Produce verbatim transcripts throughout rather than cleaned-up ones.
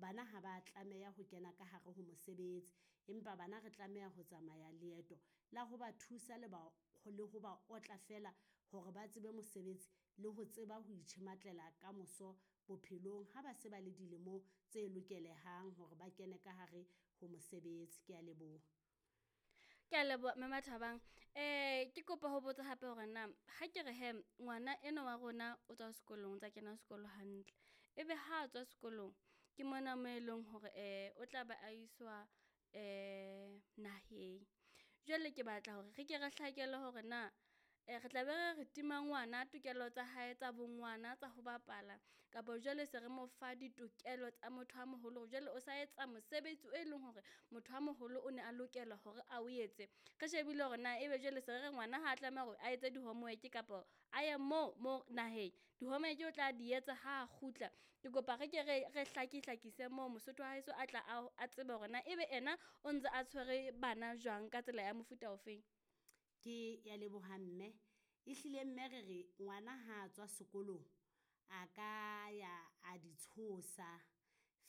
Bana ha ba tlameha ho kena ka hare ho mosebetsi, empa bana re tlameha ho tsamaya leeto la ho ba thusa le ba le ho ba otla feela hore ba tsebe mosebetsi le ho tseba ho itjhematlela kamoso bophelong ha ba se ba le dilemong tse lokelehang hore ba kene ka hare ho mosebetsi. Kea leboha. Kea leboha mme Mathabang. Ke kopa ho botsa hape hore na ha ke re hee ngwana enwa wa rona o tswa sekolong, o ntsa kena sekolo hantle. Ebe ha tswa sekolong ke mona mo eleng hore o tla ba a iswa naheng. Jwale ke batla hore re ke re hlakelwe hore na re tla be re re tima ngwana tokelo tsa hae tsa bo ngwana tsa ho bapala, kapa jwale se re mo fa ditokelo tsa motho a moholo hore jwale o sa etsa mosebetsi, e leng hore motho a moholo o ne a lokela hore a o etse. Re shebile hore na ebe jwale se re re ngwana ha tlameha hore a etse di-homework kapa a ye moo mo naheng, di-homework o tla di etsa ha kgutla. Ke kopa re ke re re hlaki hlakise moo Mosotho wa heso a tla a tsebe hore na ebe ena o ntse a tshwere bana jwang ka tsela ya mofuta ofeng. Ke ya leboha mme, ehlile mme re re ngwana ha tswa sekolong a ka ya a di tshosa.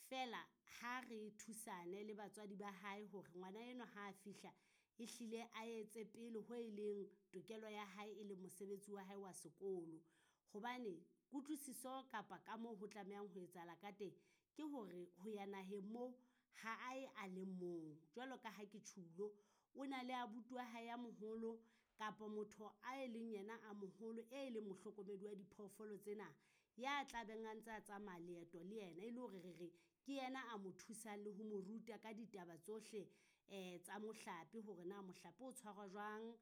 Feela ha re thusane le batswadi ba hae hore ngwana enwa ha fihla, ehlile a etse pele ho e leng tokelo ya hae e leng mosebetsi wa hae wa sekolo. Hobane kutlwisiso kapa ka moo ho tlamehang ho etsahala ka teng, ke hore ho ya naheng moo ha aye a le mong. Jwalo ka ha ke tjhulo, o na le abuti wa hae a moholo kapa motho a e leng yena a moholo e leng mohlokomedi wa diphoofolo tsena. Ya tla beng a ntse a tsamaya leeto le yena, e le hore re re ke yena a mo thusang le ho mo ruta ka ditaba tsohle tsa mohlape hore na mohlape o tshwarwa jwang,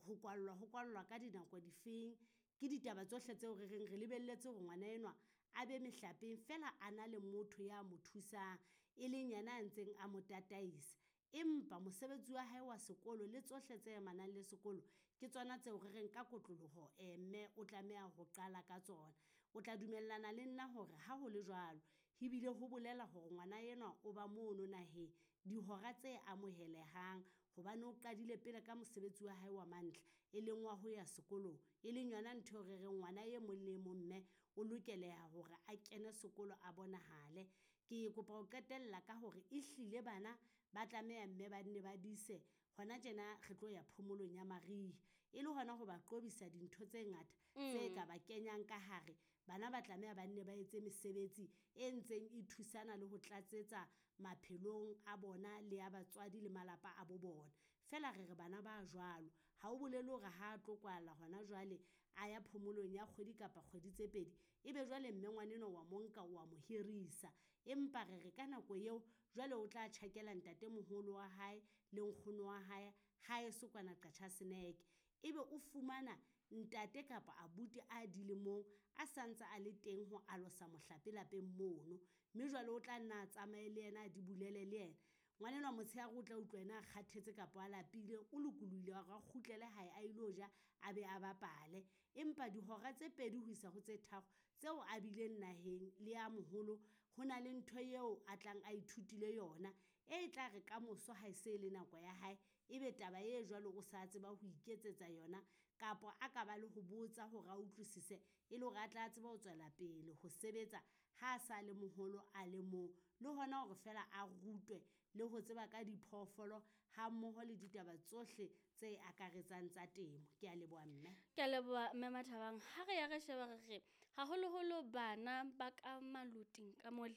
ho kwallwa ho kwallwa ka dinako difeng. Ke ditaba tsohle tseo re reng re lebelletse hore ngwana enwa a be mehlapeng feela a na le motho ya mo thusang, e leng yena a ntseng a mo tataisa. Empa mosebetsi wa hae wa sekolo le tsohle tse amanang le sekolo, ke tsona tseo re reng ka kotloloho mme o tlameha ho qala ka tsona. O tla dumellana le nna hore ha ho le jwalo, ebile ho bolela hore ngwana enwa o ba mono naheng dihora tse amohelehang hobane o qadile pele ka mosebetsi wa hae wa mantlha, e leng wa ho ya sekolong. E leng yona ntho eo re reng ngwana e mong le mong mme o lokeleha hore a kene sekolo a bonahale. Ke kopa ho qetella ka hore ehlile bana ba tlameha mme ba nne ba dise hona tjena re tlo ya phomolong ya mariha. E le hona ho ba qobisa dintho tse ngata tse ka ba kenyang ka hare. Bana ba tlameha ba nne ba etse mesebetsi e ntseng e thusana le ho tlatsetsa maphelong a bona le a batswadi le malapa a bo bona. Feela re re bana ba jwalo, ha o bolele hore ha tlo kwala hona jwale a ya phomolong ya kgwedi kapa kgwedi tse pedi, ebe jwale mme ngwana enwa wa mo nka wa mo hirisa. Empa re re ka nako eo jwale o tla tjhakela ntatemoholo wa hae le nkgono wa hae haeso kwana Qacha's Nek. Ebe o fumana ntate kapa abuti a dilemong a santse a le teng ho alosa mohlape lapeng mono, mme jwale o tla nna tsamaye le yena a di bulele le yena. Ngwana enwa motshehare o tla utlwa ena a kgathetse kapa a lapile, o lokolohile hore a kgutlele hae a ilo ja, a be a bapale. Empa dihora tse pedi ho isa ho tse tharo tseo a bileng naheng le ya moholo, ho na le ntho eo a tlang a ithutile yona. E tla re kamoso ha se le nako ya hae, ebe taba e jwalo o sa tseba ho iketsetsa yona kapa a ka ba le ho botsa hore a utlwisise e le hore a tla tsebe ho tswela pele ho sebetsa ha sa le moholo a le mong. Le hona hore feela a rutwe le ho tseba ka diphoofolo ha mmoho le ditaba tsohle tse akaretsang tsa temo. Kea leboha mme. Kea leboha mme Mathabang. Ha re ya re sheba re re haholoholo bana ba ka maloting ka mole,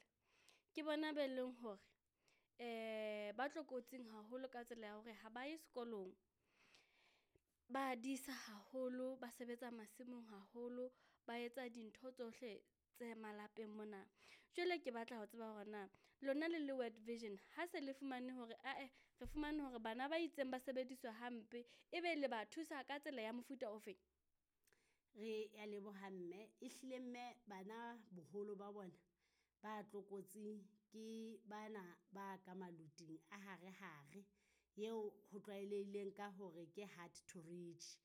ke bona be leng hore ba tlokotsing haholo ka tsela ya hore ha ba ye sekolong. Ba disa haholo, ba sebetsa masimong haholo, ba etsa dintho tsohle tse malapeng mona. Jwale ke batla ho tseba hore na lona le le World Vision ha se le fumane hore ae re fumane hore bana ba itseng ba sebediswa hampe, ebe le ba thusa ka tsela ya mofuta ofeng? Re ya leboha mme, ehlile mme bana boholo ba bona ba tlokotsing ke bana ba ka maloting a hare hare. Eo ho tlwaelehileng ka hore ke hard to reach.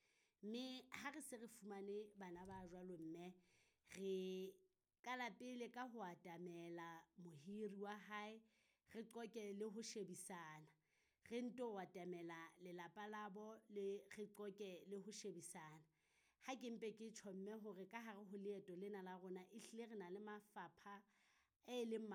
Mme ha re se re fumane bana ba jwalo mme, re qala pele ka ho atamela mohiri wa hae, re qoqe le ho shebisana. Re nto atamela lelapa labo le re qoqe le ho shebisana. Ha ke mpe ke tjho mme hore ka hare ho leeto lena la rona, ehlile re na le mafapha e leng.